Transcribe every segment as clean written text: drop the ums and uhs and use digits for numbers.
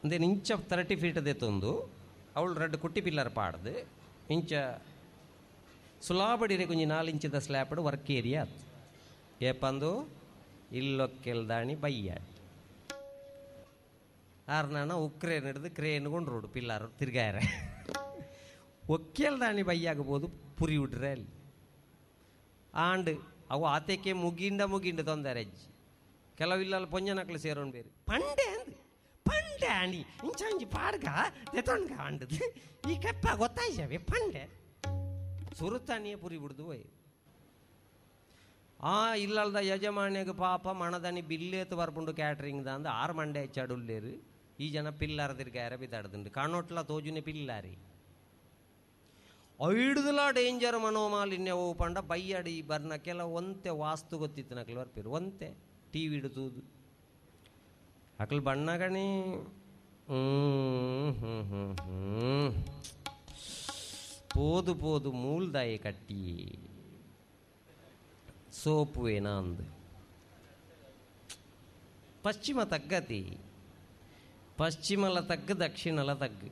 ಇಂದೇನು ಇಂಚ 30 ಫೀಟ್ ದೆತ್ತೊಂದು ಅವಳು ರಡ್ಡು ಕುಟ್ಟಿ ಪಿಲ್ಲರ್ ಪಾಡ್ದು ಇಂಚ ಸುಲಾಬಡಿರೆ ಕೊಂಚ 4 ಇಂಚಿದ ಸ್ಲ್ಯಾಪ್ಡ್ ವರ್ಕ್ ಏರಿಯಾ ಆತು. ಏಪಂದು ಇಲ್ಲೊಕ್ಕೆಲ್ದಾಣಿ ಬಯ್ಯಾಡ್ ಆರ್ನಾನ ಉಕ್ರೇನ್ ಹಿಡಿದು ಕ್ರೇನ್ ಕೊಂಡು ರೋಡು ಪಿಲ್ಲಾರು ತಿರ್ಗಾಯರೆ ಒಕ್ಕೆಲ್ದಾಣಿ ಬಯ್ಯಾಗಬೋದು ಪುರಿ ಉಡ್ರೆ ಅಲ್ಲಿ ಆಂಡ್ ಅವು ಆತೆಕ್ಕೆ ಮುಗಿಂಡ ಮುಗಿಂಡ ತೊಂದರೆ ಅಜ್ಜಿ. ಕೆಲವಿಲ್ಲ ಪೊಂಜನಕ್ಲು ಸೇರೋಣ ಬೇರೆ ಪಂಡೆ ಅಂದ್ ಪಂಡೆ ಅಣಿ ಇಂಚ ಪಾಡ್ಗ ತೆತ್ತೊಣ್ಗ ಅಂಡದು ಈ ಕೆಪ್ಪ ಗೊತ್ತಾಯ್ಸವೆ ಪಂಡೆ ಸುರುತಾನಿಯೇ ಪುರಿ ಬಿಡ್ದು ಹೋಯ್. ಆ ಇಲ್ಲಲ್ದ ಯಜಮಾನ್ಯಗ ಪಾಪ ಮಣದನಿ ಬಿಲ್ಲೇತು ಬರ್ಪುಂಡು ಕ್ಯಾಟ್ರಿಂಗ್ ದಂದು 6 ಮಂಡೆ ಹೆಚ್ಚಾಡುಲ್ಲೇರು. ಈ ಜನ ಪಿಲ್ಲಾರ ತಿರ್ಗಾರ ಬಿದ್ದಾಡ್ದುಂಡು ಕಾಣೋಟ್ಲ ತೋಜುನೆ ಪಿಲ್ಲಾರಿ ಐಡ್ದಲ ಡೇಂಜರ್ ಮನೋಮಾಲಿನ್ಯ ಓ ಪಂಡ ಬಯ್ಯಾಡಿ ಬರ್ನ ಕೆಲವು ಒಂತೆ ವಾಸ್ತು ಗೊತ್ತಿತ್ತು ನಕಲು ಬರ್ಪಿರು ಒಂತೆ ಟಿ ವಿ ಹಿಡಿದು ಅಕಲ್ ಬಣ್ಣಗಣಿ ಹ್ಞೂ ಹ್ಞೂ ಹ್ಞೂ ಹ್ಞೂ ಪೋದು ಪೋದು ಮೂಲ್ದಾಯಿ ಕಟ್ಟಿ ಸೋಪು ಏನ ಅಂದು ಪಶ್ಚಿಮ ತಗ್ಗತಿ ಪಶ್ಚಿಮಲ ತಗ್ಗು ದಕ್ಷಿಣಲ ತಗ್ಗು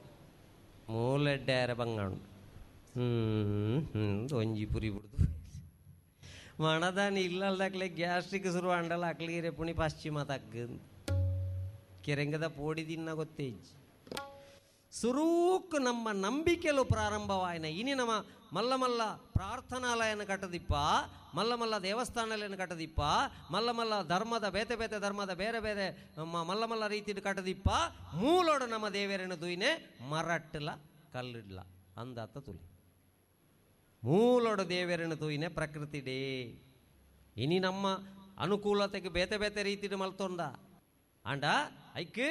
ಮೂಲೆಡ್ಡಾರ ಬಂಗಾಣು ಹ್ಞೂ ಹ್ಞೂ ಒಂಜಿ ಪುರಿ ಬಿಡ್ದು ಮಣದಾನಿ ಇಲ್ಲಲ್ದಾಕ್ಲೆ ಗ್ಯಾಸ್ಟ್ರಿಕ್ ಶುರು ಅಂಡಲ ಅಕ್ಲಿಗೆ ಪುಣಿ ಪಶ್ಚಿಮ ತಗ್ಗು ಕೆರೆಂಗದ ಪೋಡಿ ದಿನ್ನ ಗೊತ್ತೇಜ್ ಸುರೂಕ್ ನಮ್ಮ ನಂಬಿಕೆಲು ಪ್ರಾರಂಭವಾಯಿನ. ಇನಿ ನಮ್ಮ ಮಲ್ಲ ಮಲ್ಲ ಪ್ರಾರ್ಥನಾಲಯನ ಕಟ್ಟದಿಪ್ಪ, ಮಲ್ಲ ಮಲ್ಲ ದೇವಸ್ಥಾನಲಯನ ಕಟ್ಟದಿಪ್ಪ, ಮಲ್ಲ ಮಲ್ಲ ಧರ್ಮದ ಬೇತೆ ಬೇತೆ ಧರ್ಮದ ಬೇರೆ ಬೇರೆ ಮಲ್ಲ ಮಲ್ಲ ರೀತಿಡು ಕಟ್ಟದಿಪ್ಪ. ಮೂಲೋಡು ನಮ್ಮ ದೇವರನ್ನು ದುಯ್ನೆ ಮರಟ್ಟಲ ಕಲ್ಲಿಡ್ಲ ಅಂದಾತ ತುಲಿ ಮೂಲೋಡು ದೇವರನ್ನು ತೂಯಿನೆ ಪ್ರಕೃತಿ ಡೇ. ಇನಿ ನಮ್ಮ ಅನುಕೂಲತೆಗೆ ಬೇತೆ ಬೇತೆ ರೀತಿಡು ಮಲ್ತೊಂದ ಅಂಡ ಐಕ್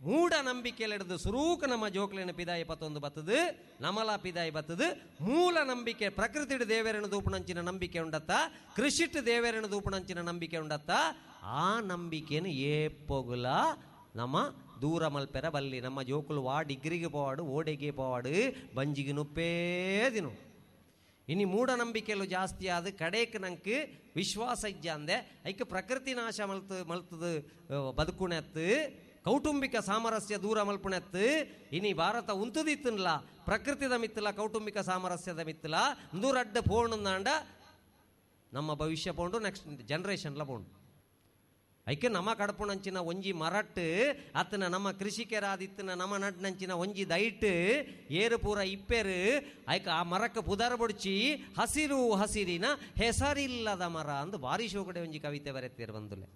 ಮೂಢ ನಂಬಿಕೆಯಲ್ಲಿಡ್ದು ಸುರೂಕ ನಮ್ಮ ಜೋಕ್ಲಿನ ಪಿದಾಯಿ ಪತ್ತೊಂದು ಬತ್ತದು ನಮಲ ಪಿದಾಯಿ ಬತ್ತದು. ಮೂಲ ನಂಬಿಕೆ ಪ್ರಕೃತಿಡು ದೇವರನ್ನು ದೂಪಣಂಚಿನ ನಂಬಿಕೆ ಉಂಡತ್ತ, ಕೃಷಿಟ್ಟು ದೇವರನ್ನು ದೂಪಣಂಚಿನ ನಂಬಿಕೆ ಉಂಡತ್ತ. ಆ ನಂಬಿಕೆಯನ್ನು ಏಪೊಗುಲ ನಮ್ಮ ದೂರ ಮಲ್ಪೆರ ಬಲ್ಲಿ. ನಮ್ಮ ಜೋಕುಲು ವಾ ಡಿಗ್ರಿಗೆ ಪೋವಾಡು ಓಡೆಗೆ ಪೋವಾಡು ಬಂಜಿಗೆ ನುಪ್ಪೇ ದಿನು. ಇನಿ ಮೂಢನಂಬಿಕೆಯಲ್ಲೂ ಜಾಸ್ತಿ ಆದ ಕಡೇಕ್ ನಂಗೆ ವಿಶ್ವಾಸ ಇಜ್ಜಂದೆ ಐಕ್ ಪ್ರಕೃತಿ ನಾಶ ಮಲ್ತು ಮಲ್ತದು ಬದುಕುಣೆತ್ತು ಕೌಟುಂಬಿಕ ಸಾಮರಸ್ಯ ದೂರ ಮಲ್ಪುಣೆತ್ತು. ಇನಿ ಭಾರತ ಉಂತುದಿತ್ತನ್ಲ ಪ್ರಕೃತಿದ ಮಿತ್ತಲ ಕೌಟುಂಬಿಕ ಸಾಮರಸ್ಯದ ಮಿತ್ತಲ ದೂರಡ್ಡ ಪೋಣಂದಾಂಡ ನಮ್ಮ ಭವಿಷ್ಯ ಪೋಂಡು ನೆಕ್ಸ್ಟ್ ಜನ್ರೇಷನ್ಲ ಪೋಂಡು. ಐಕೆ ನಮ್ಮ ಕಡಪುಣಂಚಿನ ಒಂಜಿ ಮರಟ್ಟು ಅತ್ತನ ನಮ್ಮ ಕೃಷಿಕರಾದಿತ್ತನ ನಮ್ಮ ನಡ್ನಂಚಿನ ಒಂಜಿ ದೈಟ್ ಏರು ಪೂರ ಇಪ್ಪೇರು ಐಕ ಆ ಮರಕ್ಕೆ ಪುದರ ಬೊಡ್ಚಿ ಹಸಿರು ಹಸಿರಿನ ಹೆಸರಿಲ್ಲದ ಮರ ಅಂದು ಭಾರಿ ಶೋಕಡೆ ಒಂಜಿ ಕವಿತೆ ಬರೆತೀರು ಬಂದುಲೆ.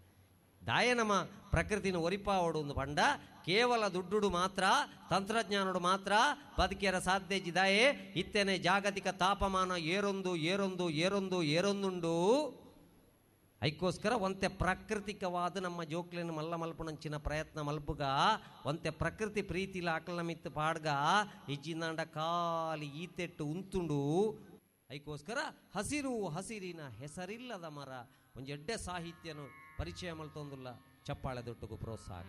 ದಾಯ ನಮ್ಮ ಪ್ರಕೃತಿನ ಒರಿಪಾವಡು ಒಂದು ಪಂಡ ಕೇವಲ ದುಡ್ಡುಡು ಮಾತ್ರ ತಂತ್ರಜ್ಞಾನಡು ಮಾತ್ರ ಬದುಕಿಯರ ಸಾಧ್ಯ ಜಿದಾಯೇ. ಇತ್ತೇನೆ ಜಾಗತಿಕ ತಾಪಮಾನ ಏರೊಂದು ಏರೊಂದು ಏರೊಂದು ಏರೊಂದುಂಡು. ಐಕ್ಕೋಸ್ಕರ ಒಂತೆ ಪ್ರಾಕೃತಿಕವಾದ ನಮ್ಮ ಜೋಕ್ಲಿನ ಮಲ್ಲ ಮಲ್ಪುಣಂಚಿನ ಪ್ರಯತ್ನ ಮಲ್ಪುಗ ಒಂತೆ ಪ್ರಕೃತಿ ಪ್ರೀತಿಲ ಆಕಲ ಮಿತ್ತು ಪಾಡ್ಗ ಇಜ್ಜಿಂದಾಂಡ ಖಾಲಿ ಈತೆಟ್ಟು ಉಂತುಂಡು. ಐಕ್ಕೋಸ್ಕರ ಹಸಿರು ಹಸಿರಿನ ಹೆಸರಿಲ್ಲದ ಮರ ಒಂಜಿ ಎಡ್ಡೆ ಸಾಹಿತ್ಯನು ಪರಿಚಯ ಮಲ್ತೊಂದುಲ್ಲ. ಚಪ್ಪಾಳೆ ದೊಟ್ಟುಗು ಪ್ರೋತ್ಸಾಹ.